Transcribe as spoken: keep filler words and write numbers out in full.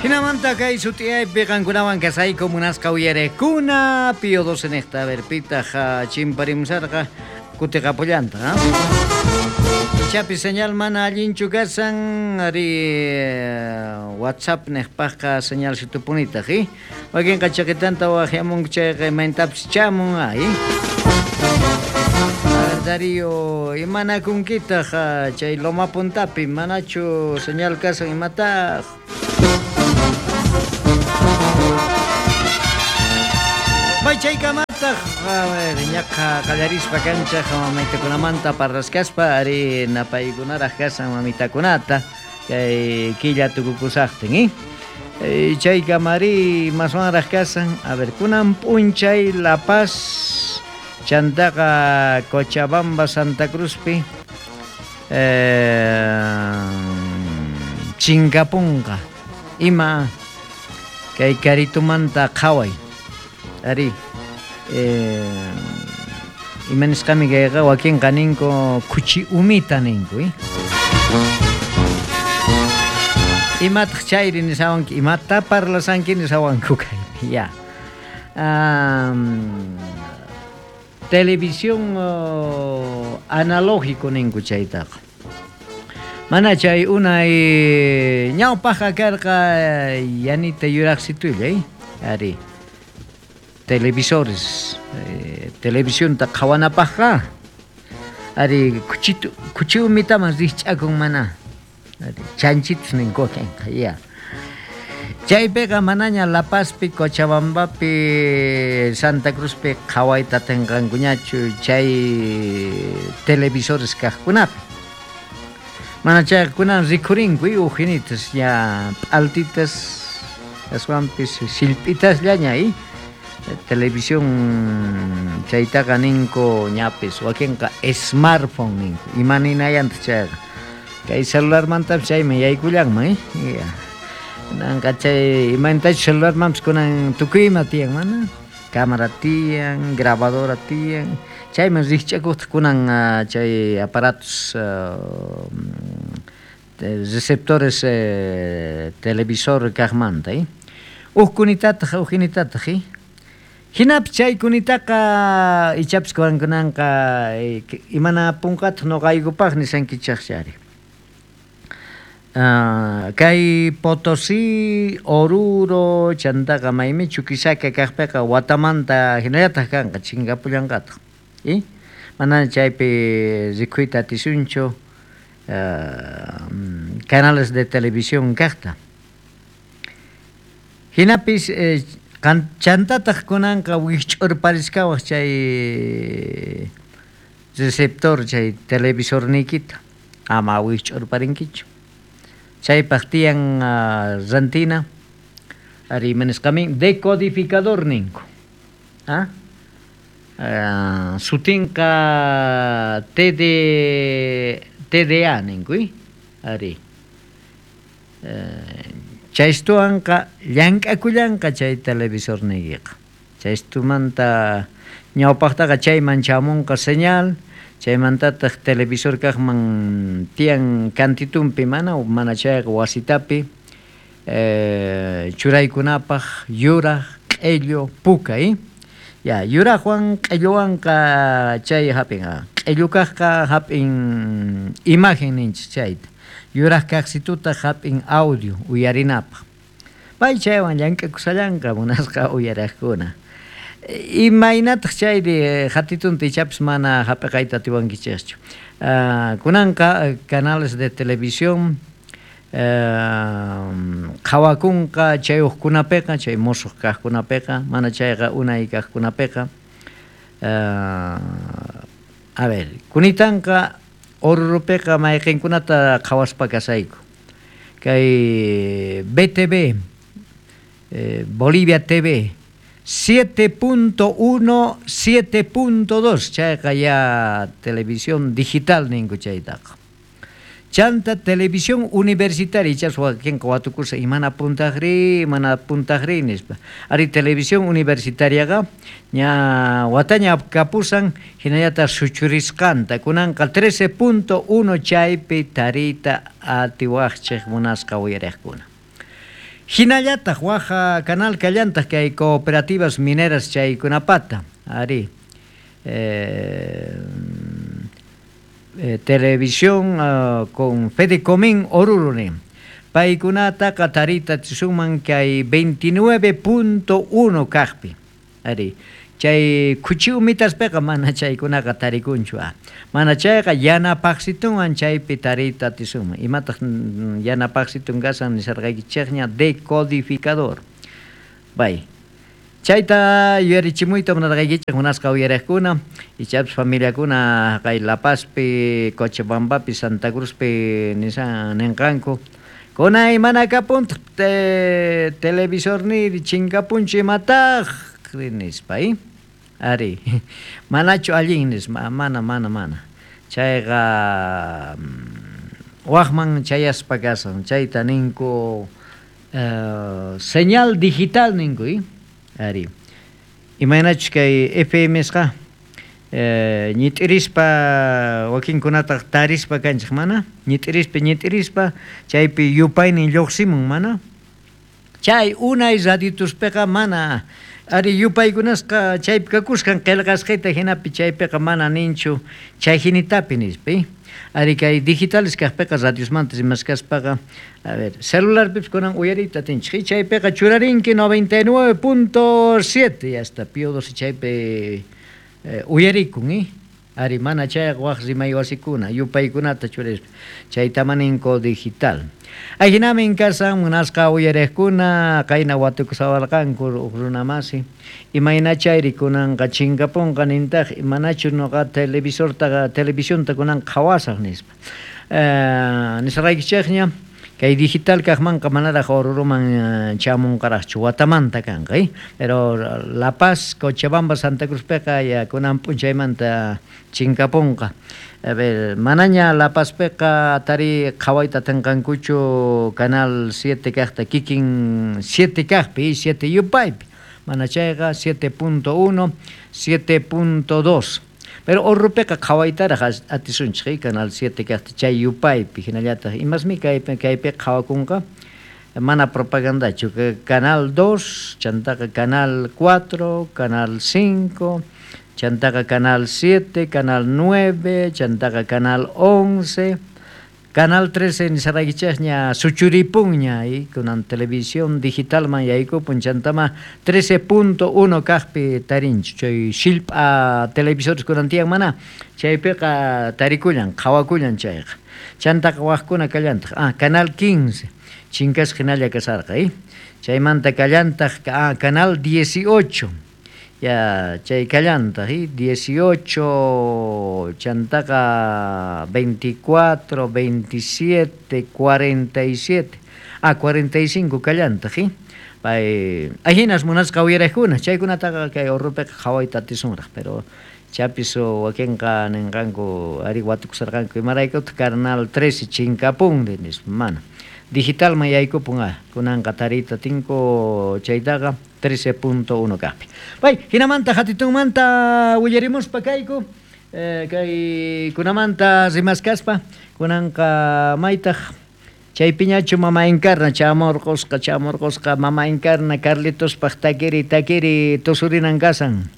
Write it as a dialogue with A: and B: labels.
A: Hinamanta kay sut'iyaypi qankunawan kasayku munasqa uyarekuna Pío doce niqta a ver pitaq chimparimusarqa kutiqapullanta, ha? Ichapi señal mana allinchu kasan ari WhatsApp niqpaqqa señal situpunitaq, eh? Wakinqa chaqitanta waqyamunku chayqa imaynatapis chamun, ay. Darío, imanakunkitaq chay Loma Puntapi manachu señal kasan imataq? Bay chaykamataq, a ver, ñaqa qallarispa kanchaq mamitakunamanta parraskaspa ari napaykunaraq kasan mamitakunata kay killa tukukusaqtin, eh? Chaykamari maswanraq kasan, a ver, kunan p'unchay La Paz chantaqa Cochabamba Santa Cruzpi eh, chinkapunqa ima kay karitumanta qhaway ari eh, ima nisqami kayqa wakinqa ninku kuchi umita ninku, eh? Imataq chayri nisawanki imata parlasanki nisawanku kaypi ya. Um, televisión uh, analógico ninku chaytaqa mana chay unay ñawpaqqa karqa yanita yuraqsitulla, eh? Ari televisores eh, televisionta qhawanapaqqa ari kuchitu kuchi umitaman rikch'akun mana ari chanchitus ninku kanqa ya. Chaypiqa manaña La Pazpi, Cochabambapi, Santa Cruzpi qhawayta tinqankuñachu chay televisores kaqkunapi. Mana chaykunan rikhurinku ujinitas ya p'altitas aswanpis sillp'itasllaña, eh? Televisión chaytaqa ninku ñapis wakinqa smartphone ninku ima ninayantaq chayqa kay celularmantapis chayman yaykullanman, eh? Ya. Nanqa chay imaynatachu celularmanpis kunan tukuy ima tiyan mana cámara tiyan grabadora tiyan chayman rikch'akuqtaq kunan chay aparatos uh, receptores eh, televisor kaqmanta, eh? Uj kunitataq ujinitataq, eh? Hinapis chay kunitaqa ichapis kunanqa imanapunqataq nuqaykupaq nisankichaq chari. Uh, kay Potosí, Oruro, chantaqa maymi Chuquisaca kaqpiqa watamanta hinallataq kanqa chinkapullanqataq, eh? Mana chaypi rikuyta atisunchu uh, canales de televisión kaqta. Hinapis eh, chantataq kunanqa wikch'urpariskawaq chay receptor chay televisorniykita ama wikch'urparinkichu. Chaypaq tiyan uh, rantina ari imanisqamin decodificador ninku, ah? Uh, sutinqa T D T D A ninku, eh? Ari uh, chaystuwanqa llank'akullanqa chay televisorniykiqa. Chaystumanta ñawpaqtaqa chayman chamunqa señal, chaymantataq televisor kaqman tiyan kantitunpi mana mana chayqa wasitapi eh, churaykunapaq yuraq, q'illu, puka, eh? Ya, yuraqwan q'illuwanqa chay hap'in, q'illu kaqqa hap'in imagen ninchik chayta. Yuraq kaqsitutaq hap'in audio uyarinapaq. Pay chaywan llank'akusallanqa munasqa uyaraqkuna. Imaynataq chayri hatitunta ichapis mana hap'iqayta atiwankichikchu. Uh, kunanqa canales de televisión uh, qhawakunqa chay uqkunapiqa, chay musuq kaqkunapiqa, mana chayqa unay kaqkunapiqa. Uh, a ver, kunitanqa Orurupiqa mayqinkunata qhawaspa kasayku. Kay B T V, eh, Bolivia T V, siete punto uno, siete punto dos, chayqa ya televisión digital ninku chaytaqa. Chanta televisión universitaria, ichas wakinqa watukursa imana puntaqri, imana puntaqri nispa. Ari televisión universitariaqa ña wataña kapusan hinallataq suchurisqanta kunanqa trece punto uno chaypi tariyta atiwaqchik munasqa uyariqkuna. Hinallataq waj canal kallantaq kay cooperativas mineras chaykunapata ari eh, eh, televisión uh, con Fedecomín Oruro nin. Paykunataqa tarita atisunman kay veintinueve punto uno kaqpi. Ari chay khuchi umitaspiqa mana chaykunaqa tarikunchu. Mana chayqa yanapaqsitunwan chaypi tarita atisunman. Imataq yanapaqsitun kasan nisarqaykichikña decodificador. Bay. Chayta yuyarichimuyta munarqaykichik munasqa uyariqkuna, ichapis familiakuna kay La Pazpi, Cochabambapi, Santa Cruzpi nisan ninqanku. Kunay mana kapuntaq te, televisor niri chinkapunchu imataq nispa, eh? Ari, manachu allin nispa, mana, mana, mana. Chayqa waqman chayaspa kasan, chayta ninku uh, señal digital ninku, eh? Ari. Imaynachus kay F M sqa eh, ñit'irispa wakinkunataq tarispa kanchik mana, ñit'irispa ñit'irispa chaypi yupaynin lluqsimun mana. Chay unay radiotuspiqa mana ari yupaykunasqa chaypi kakusqan qillqasqita hinapi chaypiqa mana ninchu chay hinitapi nispa. Ari kay digitales kaqpiqa radiosmanta rimaskaspaqa, a ver, celularpipis kunan uyariyta atinchik, chaypiqa churarinki noventa y nueve punto siete ya está, Pío doce chaypi eh, uyarikun, eh? Ari mana chayqa waq rimay wasikuna yupaykunata churispa chayta ninko digital. Ajinamin kasan munasqa uyariqkuna qayna watukusawarqanku uq runa masi imayna chayri kunanqa chinkapunqa nintaq imanachu nuqa televisortaqa televisionta kunan qhawasaq nispa. Eh, nisaraykichikña kay digital kaqmanqa manaraq Oruruman chamunqaraqchu watamanta kanqa, eh? Pero La Paz, Cochabamba, Santa Cruzpiqa ya kunan p'unchaymanta chinkapunqa. A ver, manaña La Pazpiqa tari qhawayta atinqankuchu canal siete kaqta kikin siete kaqpi, siete yupaypi. Mana chayqa siete punto uno, siete punto dos. Pero Orurupiqa qhawaytaraq atisunchik, canal siete kaqta chay yupaypi hinallataq imasmi kaypi kaypi qhawakunqa mana propagandachu canal dos, chantaqa canal cuatro, canal cinco, chantaqa canal siete, canal nueve, chantaqa canal once, canal trece nisaraykichikña suchuripunña y kunan televisión digitalman yaykupun chantama trece punto uno kaqpi tarinchu chay shilp'a televisores kunan tiyan mana chaypiqa tarikullan qhawakullan chayqa chantaqa waqkuna kallantaq ah canal quince chinkasqa hinalla kasarqa, eh? Chaymanta kallantaq ah canal dieciocho ya chay kallantaq, eh? dieciocho chantaqa veinticuatro, veintisiete, cuarenta y siete, ah cuarenta y cinco kallantaq, eh? Pay ahinas munasqa uyariqkuna chaykunataqa kay Orurupiqa qhawayta atisunraq, pero chapis wakinqa ninqanku ari watukusarqanku imaraykutaq canal trece chinkapunri nispa mana. Digitalman yaykupun ah kunanqa tarita tinku chaytaqa trece punto uno kaqpi. Pay hinamanta hatitunmanta willarimuspa kayku eh, kay kunamanta rimaskaspa kunanqa maytaq chaypiñachu mama Encarna chamurqusqa chamurqusqa mama Encarna Carlitospaq takiri takiri tusurinan kasan.